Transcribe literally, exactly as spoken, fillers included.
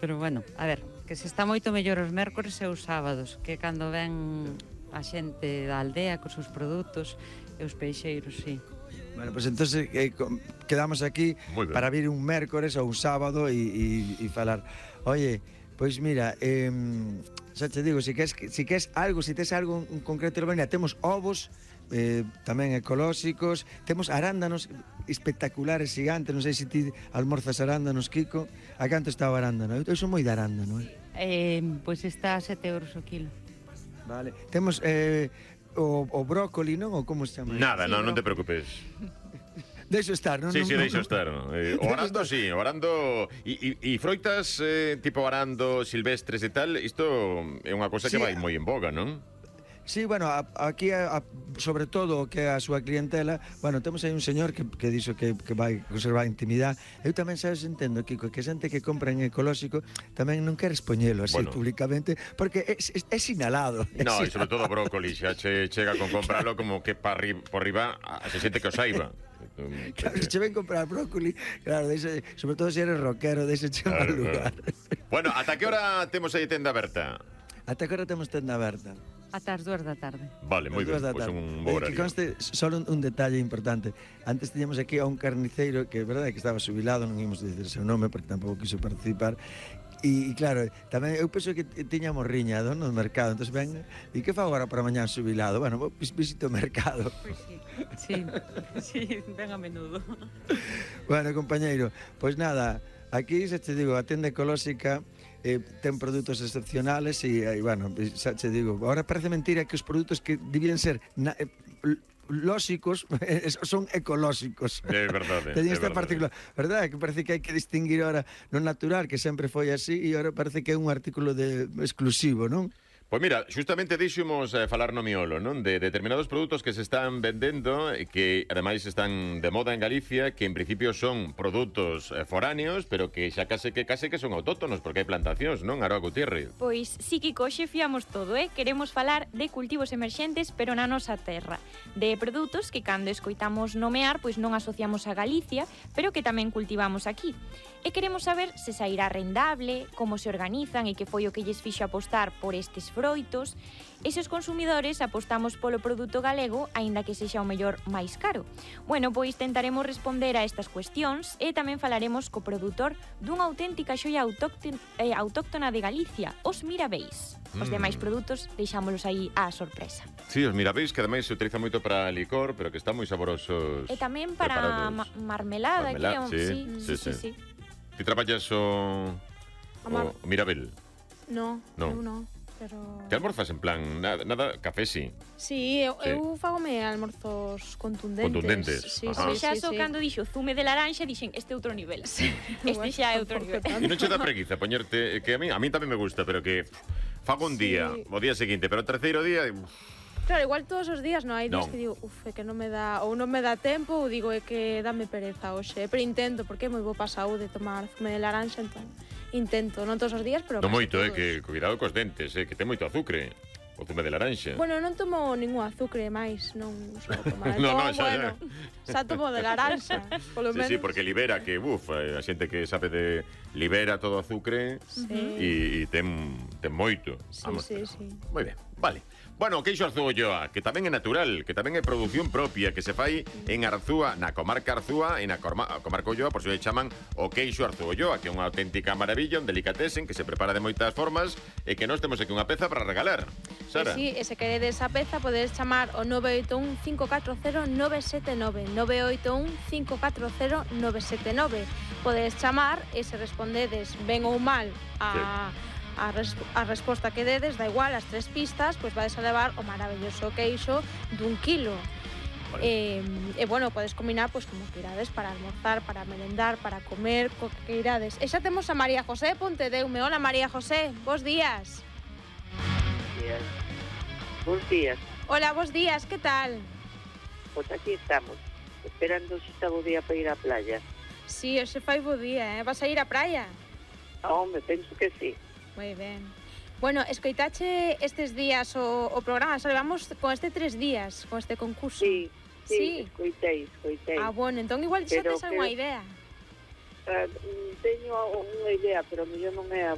Pero bueno, a ver, que se está moito mellor os mércores e os sábados, que cando ven a xente da aldea cos seus produtos e os peixeiros, sí. Bueno, pois pues entonces eh, quedamos aquí para vir un mércores ou un sábado e, e, e falar. Oye, pois pues mira, eh, xa te digo, si queres, si queres algo, si tes algo en concreto, mira, temos ovos, eh, tamén ecolóxicos, temos arándanos espectaculares, gigantes, non sei se ti almorzas arándanos, Kiko. A canto está o arándano? Eu son moi de arándano, eh? Eh, pois está a sete euros o kilo. Vale, temos eh, o, o brócoli, non? Ou como se chama? Nada, Sí, non, non bro- te preocupes. Deixo estar, non? Sí, non, sí, non, deixo non. estar. Eh, o arando, sí, o arando... E, e, e froitas eh, tipo arando, silvestres e tal, isto é unha cosa que Sí. vai moi en boga, non? Sí, bueno, a, aquí a, a, sobre todo o que é a súa clientela, bueno, temos aí un señor que, que dixo que, que vai conservar a intimidade. Eu tamén, sabes, entendo, Kiko, que xente que compra en ecolóxico tamén non queres poñelo así Bueno. públicamente, porque é, é, é sinalado. É No, e sinalado. sobre todo o brócoli, xa che chega con compralo como que pa ri, por riba a se xente que o saiba. Claro, se che ven comprar brócoli, claro, deixe, sobre todo se eres rockero, deixe che mal lugar. Bueno, ata que hora temos aí tenda aberta? Ata que hora temos tenda aberta? Ata as dúas da tarde. Vale, moi ben, As dúas da pois tarde. un Eh, bo que horario. conste, só un, un detalle importante. Antes tiñamos aquí a un carniceiro que, é verdade, que estaba xubilado, non ímos dicir o seu nome porque tampouco quiso participar. E, e claro, tamén eu penso que tiñamos riña dono do mercado. Entón ven, e que fa agora para mañán xubilado? Bueno, vou vis- visito o mercado. Pois sí, sí, sí, ven a menudo. Bueno, compañeiro, pois nada, aquí xa te digo, a tenda ecolóxica eh, ten produtos excepcionales e, e bueno, xa te digo, ahora parece mentira que os produtos que debían ser na, eh, lóxicos son ecolóxicos. É verdade. Teñen é esta verdade. particular, verdade, que parece que hai que distinguir ahora no natural, que sempre foi así, e ahora parece que é un artículo de exclusivo, non? Pois mira, justamente deixamos eh, falar no miolo, non? De determinados produtos que se están vendendo e que ademais están de moda en Galicia, que en principio son produtos eh, foráneos, pero que xa case que case que son autóctonos, porque hai plantacións, non? Aroa Gutiérrez. Pois sí, Kiko, hoxe fiamos todo, eh? Queremos falar de cultivos emerxentes, pero na nosa terra. De produtos que cando escoitamos nomear, pois non asociamos a Galicia, pero que tamén cultivamos aquí. E queremos saber se sairá rendable, como se organizan e que foi o que lles fixo apostar por estes froitos, e se os consumidores apostamos polo produto galego, aínda que sexa o mellor máis caro. Bueno, pois tentaremos responder a estas cuestións e tamén falaremos co produtor dunha auténtica xoia autóctona, eh, autóctona de Galicia, os Mirabeis. Os Mm. demais produtos deixámolos aí á sorpresa. Sí, os mirabeis que ademais se utiliza moito para licor, pero que están moi saborosos. E tamén para preparados. ma marmelada, Marmelada, que é sí, un- sí, sí, sí, sí. sí. Ti traballas o, Amar- o mirabel? No, No. eu non, pero... Te almorzas en plan, nada, nada café sí. Sí, eu, Sí. eu fagome almorzos contundentes. Contundentes, Sí, ajá. sí, Xa sí, só sí. cando dixo zume de laranxa, dixen, este outro nivel. Este xa é outro nivel. E non che dá preguiza poñerte, que a mí, a mí tamén me gusta, pero que pff, fago un Sí. día, o día seguinte, pero o terceiro día, uf, Claro, igual todos os días non hai días Non. que digo, uf, é que non me dá, ou non me dá tempo, ou digo, é que dame pereza hoxe. Pero intento, porque é moi bo pa saúde tomar zume de laranxa, entón intento, non todos os días, pero non casi moito, eh, todos. que cuidado cos dentes, eh, que ten moito azucre, o zume de laranxa. Bueno, non tomo ningún azucre máis, non só tomar. No, no, Entón, xa, bueno, xa tomo de laranxa, polo Sí, menos. sí, porque libera que, uf, eh, a xente que sabe de libera todo o azucre Sí. e, e ten, ten moito. Sí, sí, sí. Moi ben, vale. Bueno, o queixo Arzúa, que tamén é natural, que tamén é produción propia, que se fai en Arzúa, na comarca Arzúa, e na corma, comarca Ulloa, por si lle chaman o queixo Arzúa, que é unha auténtica maravilla, un delicatesen que se prepara de moitas formas e que nós temos aquí unha peza para regalar. Sara. E si, e se queredes esa peza, podedes chamar o nove oito un cinco catro cero nove sete nove, nove oito un cinco catro cero nove sete nove. Podedes chamar e se respondedes ben ou mal a... A, res, a resposta que dedes, da igual, as tres pistas, pois vades a levar o maravilloso queixo dun kilo. Vale. E, e bueno, podes combinar pois como que irades para almorzar, para merendar, para comer, co que irades. E xa temos a María José Pontedeume. Hola María José, bos días. días. Bos días. Hola, bos días, que tal? Pois aquí estamos, esperando se está bo día para ir á playa. Si, sí, hoxe fai bo día, eh? Vas a ir á praia? Ah, home, penso que sí. Moi ben. Bueno, escoitache estes días o, o programa, xa levamos con este tres días, con este concurso. Sí, sí, Sí. escoitei, escoitei. Ah, bueno, entón igual xa Pero tes algunha que- idea. Ah, mm, teño unha idea, pero mellor non é a